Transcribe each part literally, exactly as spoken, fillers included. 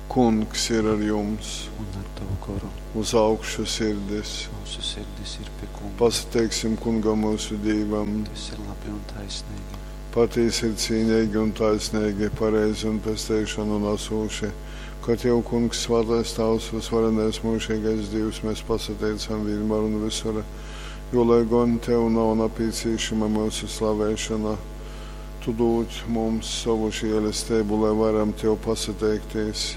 Kungs ir ar jums! Un ar tavu goru. Uz augšu sirdis! Mūsu sirdis ir pie Kunga. Pasateiksim Kungam mūsu Dīvam! Tas ir labi un taisnīgi. Patiesi ir cīnīgi un taisnīgi, pareizi un pestīšanu nesoši. Ka Tev, Kungs, svētais Tavs, visvarenais mūžīgais Dievs, mēs pasateicam vienmēr un visur, jo, lai gan Tev nav nepieciešama mūsu slavēšana, Tu dod mums savu žēlastību, lai varam Tev pasateikties.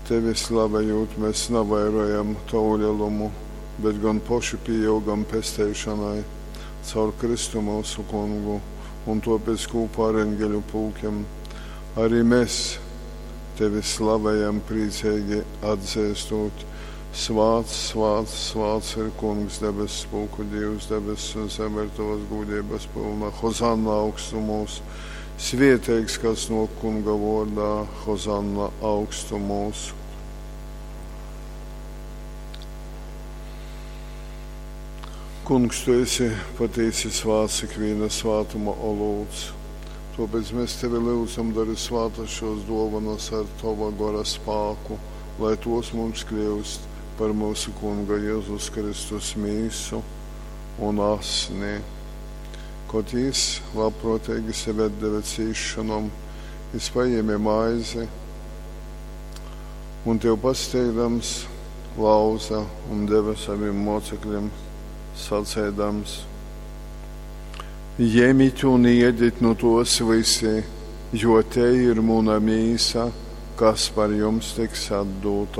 Tevi slavējot, mēs navairojam Tavu lielumu, bet gan poši pieaugam pestīšanai caur Kristu mūsu Kungu, un tāpēc kopā ar eņģeļu pulkiem arī mēs Tevi slavējam priecīgi atzīstot. Svāts, svāts, svāts ir Kungs, debesu pulku Dievs, debesis un zeme ir tavas gudrības pilna. Hozanna augstumos, svētīgs, kas no Kunga vārdā, Hozanna augstumos. Kungs, tu esi patiesi svāts ikviena svātuma olūts. Tāpēc mēs tevi lūdzam, dari svātas šos dāvanas ar tava gora spēku, lai tos mums kļūst par mūsu Kunga Jēzus Kristus mīsu un asni. Kad jis labprātīgi sevi atdeva cīšanom, jis paņēma maizi un tev pasteigdams lauza un deva saviem mocekļiem, sacēdams: Ņemiet un iediet no tos visi, jo te ir mana mīsa, kas par jums tiks atdota.